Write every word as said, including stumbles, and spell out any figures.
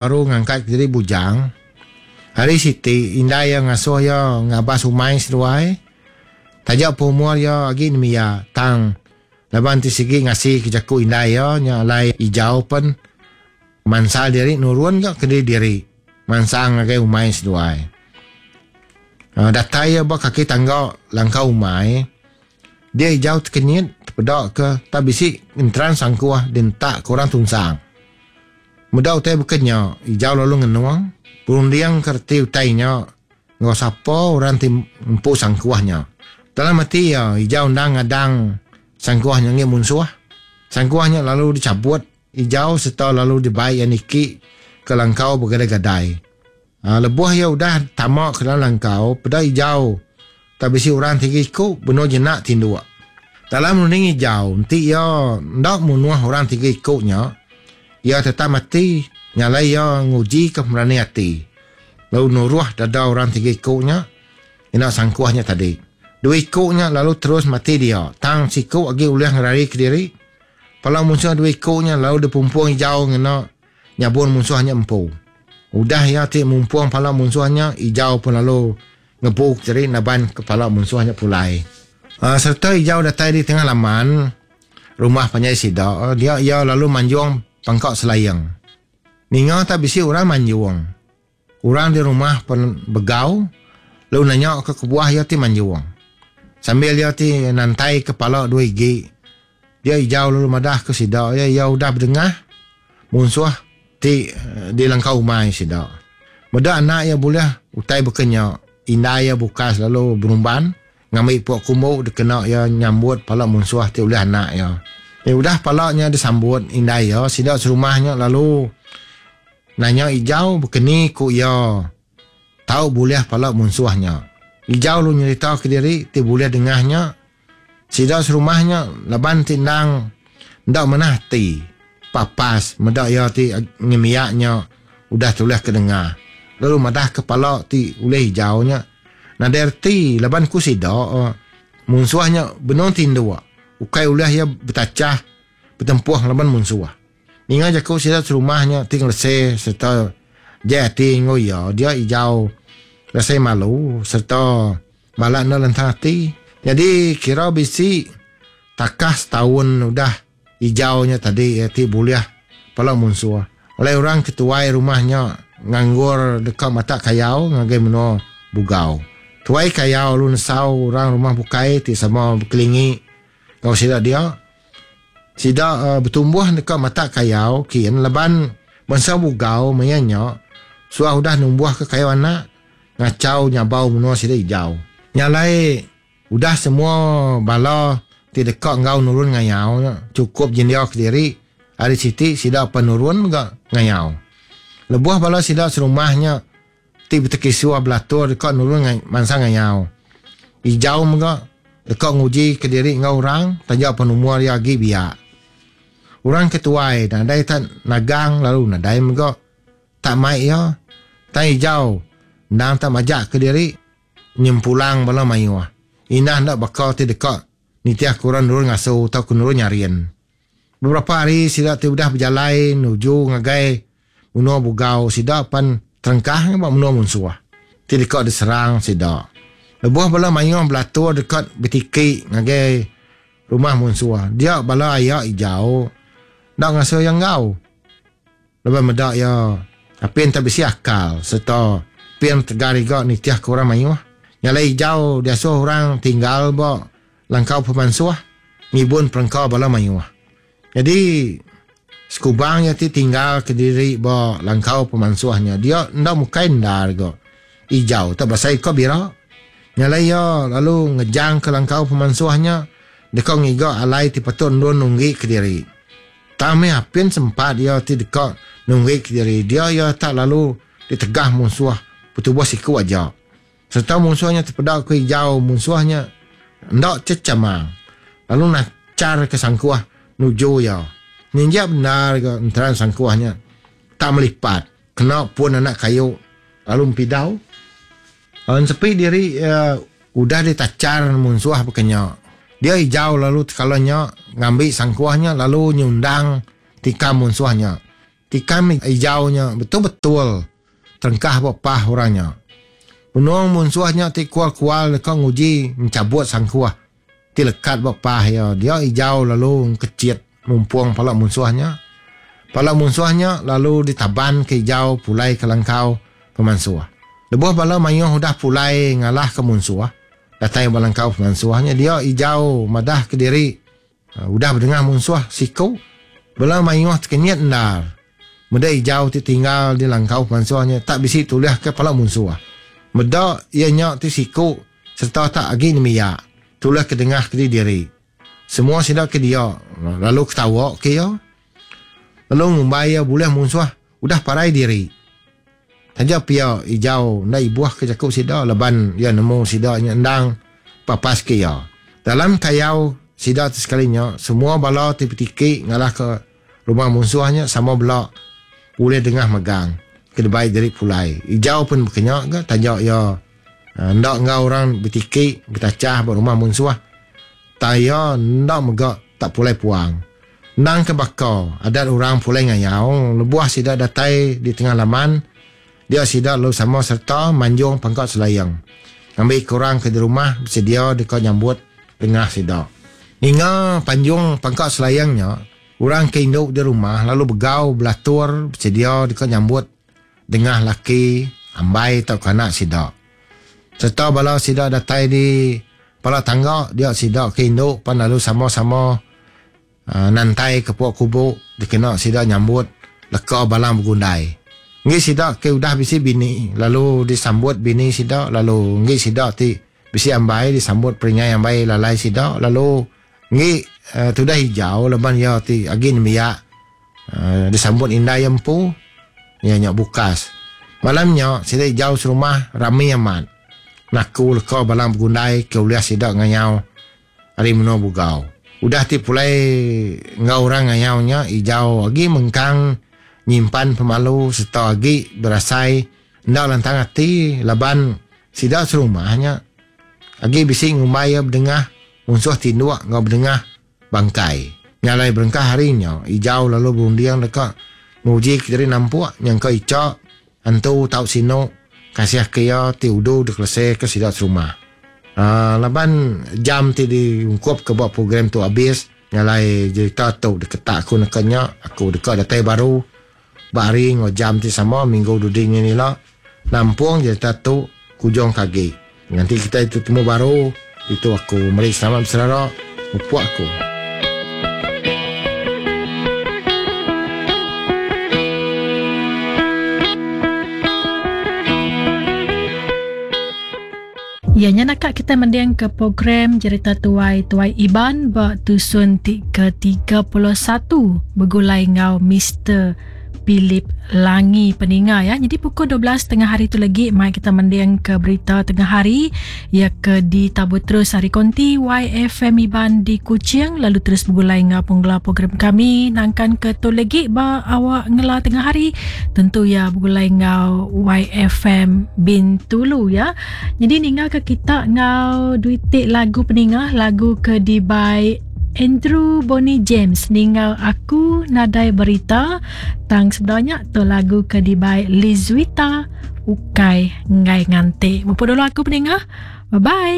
Baru ngangkat diri bujang, hari siti indai iya ngasuh iya ngabas umai seduai. Taja pun umur iya agi nembiak tang laban ti sigi ngasi ke jaku indai iya nya alai Ijau pen mansal diri nurun ga kediri diri mansang ngagai umai seduai. Datai iya ba kaki tangga langkau umai, dia Ijau tekenyit tepeda ke tak bisi enteran sangkuh dientak ke orang tunsang. Meda utai baka nya, Ijau lalu ngenung, berunding ke reti utai nya enggau sapa orang ti empu sangkuh nya. Dalam ati iya, Ijau endang ngadang sangkuh nya enggi munsuh. Sangkuh nya lalu dichabut Ijau sereta lalu dibai iya niki ke langkau begadai-gadai. Lebuh iya udah tama ke dalam langkau, peda Ijau tak bisi orang tiga iku benung jenak tinduk. Dalam runding Ijau, enti iya enda munuh orang tiga iku nya, iya tetap mati nyalai iya nguji ke pemerani ati lalu nuruh dada orang tiga iku nya ngena sangkuh nya tadi. Dua iku nya lalu terus mati dia tang siku agi ulih ngerari kediri. Pala munsuh dua iku nya lalu dipumpung Ijau ngena nyabun munsuh nya empu. Udah iya ti mumpung pala munsuh nya, Ijau pun lalu ngebu kediri naban ke pala munsuh nya pulai. Sereta Ijau datai di tengah laman rumah panjai sida, dia iya lalu manjung pangka selaing. Ninga tak bisi orang manjung. Orang di rumah pun begau lalu nanya ke kebuah iya ti manjung. Sambil iya ti nantai ke pala dua igi, dia Ijau lalu madah ke sida iya, iya udah bedengah munsuh ti di langkau umai sida. Meda anak iya bulih utai baka nya, indai iya bukas lalu berumban ngambi pok kumbu dikena iya nyambut pala munsuh ti ulih anak iya. Eh, udah pala nya disambut indai iya, sida serumah nya lalu nanya Ijau bekeni ku iya tau bulih pala munsuh nya. Ijau lalu nyerita kediri ti bulih dengah nya, sida serumah nya laban ti endang enda manah ati papas meda iya ti nyemiak nya udah tulih ke dengah. Lalu madah ke pala ti ulih Ijau nya nadai reti laban ku sida munsuh nya benung tinduk. Ukai ulih iya betachah betempuh ngelaban munsuh. Ninga jaku sida serumah nya ti ngelese sereta jai ati enggau iya, dia Ijau rasai malu sereta balat enda lentang ati. Nyadi kira bisi takah setaun udah Ijau nya tadi ti bulih pala munsuh. Alai orang ketuai rumah nya nganggur deka matak kayau ngagai menua Bugau. Tuai kayau lalu nesau orang rumah bukai ti sama bekelingi enggau sida dia. Sida betumbuh deka matak kayau kin laban bansa Bugau maya nya suah udah numbuhka kayau anak ngachau nyabau menua sida Ijau. Nya alai udah semua bala ti deka enggau nurun ngayau nya chukup jendia kediri hari siti sida penurun mega ngayau. Lebuh bala sida serumah nya ti betekisuh belatur deka nurun bansa ngayau, Ijau mega deka nguji kediri enggau orang taja pun umur iya agi biak. Orang ke tuai nadai tak nagang lalu nadai mega tak mai iya. Tang Ijau endang tak majak kediri nyempulang bala mayuh. Indah enda baka ti deka nitih ke orang nurun ngasu tauka ke nurun nyarin. Beberapa hari sida ti udah bejalai nuju ngagai menua Bugau, sida pan terengkah ba menua munsuh ti deka diserang sida. Lebuh bala mayuh belatur deka betiki ngagai rumah munsuh, dia bala aya Ijau enda ngasuh iya enggau. Lebuh meda iya apin tak bisi akal sereta apin tegar iga nitih ke orang mayuh. Nya alai Ijau diasuh orang tinggal ba langkau pemansuh ngibun perengka bala mayuh. Jadi sekubang iya ti tinggal kediri ba langkau pemansuh nya, dia enda mukai endar ga Ijau tak berasai ka bira. Nya alai iya lalu ngejang ke langkau pemansuh nya deka ngiga alai ti patut endur nunggi kediri. Tang meh apin sempat iya ti deka nunggi kediri, dia iya tak lalu ditegah munsuh betubuh siku aja. Sereta munsuh nya tepeda ke Ijau, munsuh nya enda chechamang lalu nachar ke sangkuh nuju iya. Ninjak bendar ga enteran sangkuh nya tak melipat kena pun anak kayu lalu empidau. Ensepi diri udah ditachar munsuh baka nya, dia Ijau lalu tekala nya ngambi sangkuh nya lalu nyundang tikam munsuh nya. Tikam hijaunya betul-betul terengkah ba pah orangnya. Penuang munsuhnya ti kual-kual deka nguji mencabut sangkuah ti lekat ba pah ya. Dia hijau lalu kecit mumpung pala munsuhnya. Pala munsuhnya lalu ditaban ke hijau pulai ke langkau pemansuh. Lebuh bala mayuh udah pulai ngalah ke munsuh, datai ba langkau pemansuhnya dia hijau madah ke diri udah berdengah munsuh siku. Bala mayuh terkenyit endar. Meda hijau ti tinggal di langkau pemansuhnya tak bisi tulis ke pala munsuh. Meda ia nya ti siku serta tak agi nemiak tulis ke dengah ke diri. Semua sida ke dia lalu ketawa ke ia. Lalu ngumbai ia boleh munsuh udah parai diri. Taja pia hijau nda ibuh ke jaku sida laban ia nemu sida nya endang papas ke ia. Dalam kayau sida sekalinya semua bala ti petiki ngalah ke rumah munsuhnya sama bela boleh dengah megang ke debai diri pulai. Hijau pun berkenyak ke taja ia ndak ngau orang bertiki bertacah ba rumah munsuh. Ta ia ndak megak tak pulai puang. Nang ke bakar adat orang pulai ngayau lebuah sida datai di tengah laman dia sida lalu sama serta manjung pangkat selayang. Ambil kurang ke di rumah bersedia dekat nyambut tengah sida. Ninga panjung pangkat selayangnya orang ke induk di rumah lalu begau belatur bersedia dekat nyambut dengah laki ambai atau kanak sida. Serta bala sida datai di pala tangga dia sida ke induk pan lalu sama-sama uh, nantai ke puak kubuk dikena sida nyambut leka balang bergundai. Ngi sida ke udah bisi bini lalu disambut bini sida lalu ngi sida ti bisi ambai disambut peringai ambai lalai sida lalu ngi uh, tudah hijau leban ya ti agi nemiak uh, disambut indai empu nya nya bukas. Malamnya sida hijau serumah rami amat. Naku leka balang bergundai ke uliah sida ngayau ari menua bugau. Udah ti pulai ngau orang ngayaunya hijau agi mengkang nyimpan pemalu serta agi berasai ndak lantang hati laban sida serumahnya agi bisi ngumbai berdengah munsuh tinduk ngau berdengah bangkai. Nyalai berengkah harinya hijau lalu berundiang dekat nguji ke diri nampuk nyangka icak antu tau sino kasih ke ia ti udu dikeleseh ke sida serumah. Uh, laban jam ti diungkup ke buat program tu habis nyalai cerita tu deketak aku nekanya aku dekat datai baru bari ngau jam ti sama minggu duding ni lah nampung cerita tu kujung kagi. Nanti kita itu temu baru itu aku meri selamat berserara upuk aku. Ya, nya nak kita mendiang ke program Cerita Tuai Tuai Iban ba tusun ti ke tiga puluh satu bergulai ngau Mister Philip Langi peninga ya. Jadi pukul dua belas tengah hari tu lagi mai kita mendiang ke berita tengah hari ya ke di tabur terus hari konti Y F M Iban di Kuching lalu terus bergulai ngau penggela program kami nangkan ke tu lagi ba awak ngela tengah hari tentu ya bergulai ngau Y F M Bintulu ya. Jadi ninga ke kita ngau duitik lagu peninga lagu ke di by Andrew Bonnie James ninggal aku nadai berita tang sebenarnya tu lagu ke dibai Lizwita ukai ngai nganti. Mupu dulu aku peningah. Bye bye.